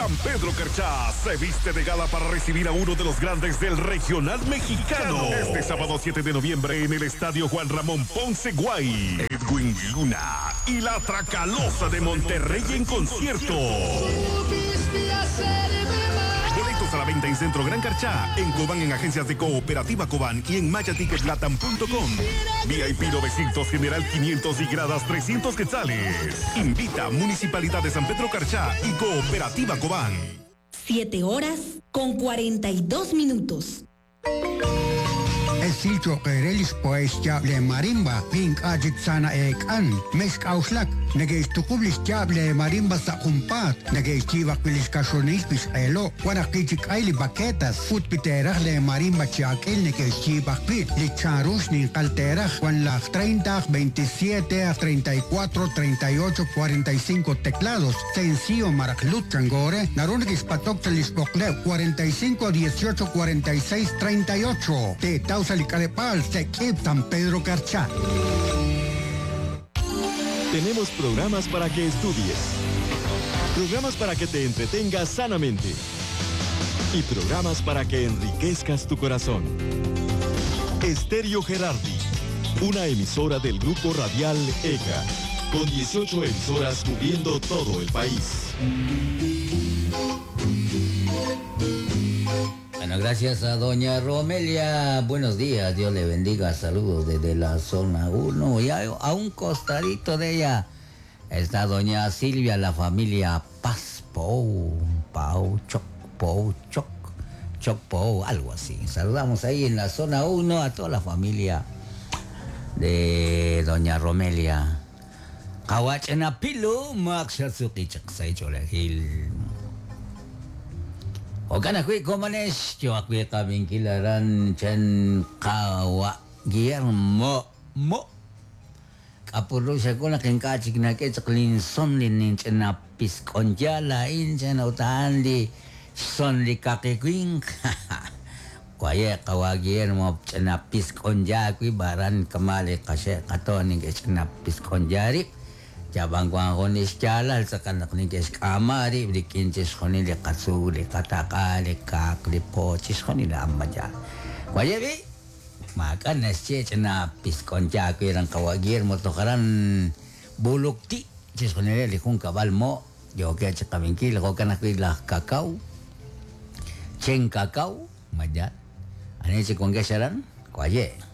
San Pedro Carchá se viste de gala para recibir a uno de los grandes del regional mexicano. Este sábado 7 de noviembre en el Estadio Juan Ramón Ponce Guay. Edwin Luna y la Tracalosa de Monterrey en concierto. Boletos a la venta en Centro Gran Carchá, en Cobán en agencias de Cooperativa Cobán y en mayaticketlatam.com. VIP 900, General 500 y gradas 300 quetzales. Invita Municipalidad de San Pedro Carchá y Cooperativa Cobán. 7 horas con 42 minutos. Esilcho qerelis pues le marimba, pink ajik sana ek an, mes kauslak, negeistukublis le marimba sa kumpat, negeistivaquilis kashonilpis elo, guanakichik aili baquetas, futpiteraj le marimba chiakil negeistibakpit, licharush nin kalteraj, Juan las 30, 27, 34, 38, 45 teclados, sencillo maraclut changore, narunikis patoctelis 45, 18, 46, 38, te tausa Licarepal, Sequip, San Pedro Carchá. Tenemos programas para que estudies, programas para que te entretengas sanamente y programas para que enriquezcas tu corazón. Estéreo Gerardi, una emisora del grupo radial ECA, con 18 emisoras cubriendo todo el país. Bueno, gracias a doña Romelia. Buenos días, Dios le bendiga. Saludos desde la zona 1. Y a un costadito de ella está doña Silvia, la familia Paz Pou, Pau, Choc, Pou, Choc, Choc Pou, algo así. Saludamos ahí en la zona 1 a toda la familia de doña Romelia. Kawachanapilu, Maxatsukichak, Jo'kan ajwi' komonex yo ajwi' qab'inkil aran chan qawa' Guillermo Mo k'apurru xakul naq ink'a' chik nak'e chaq linson li ninch'ina pisk'onya laa'in chan ut a'an li xson li kaqi winq waye' qawa' Guillermo ch'ina pisk'onya wib' aran kama' li qaxe' qatoon neke'xch'ina pisk'onya rib' Yab'an wan jun li xyaalal tz'aqal naq neke'xk'aama rib' rik'in chixjunil li qatzuul, li qataq'a, li kaaq, li po, chixjunil a'an ma yaal. Waye' b'i', maak'a' naxye ch'ina pisk'oncha aawe ran qawa' Guillermo toj aran Bulukti, chixjunileb' li junkab'al mo' yookeb' chi qab'inkil, jo'kan ajwi' laj Kakaw, Chen Kakaw, ma yaal. Ani chik wankex aran? Waye'.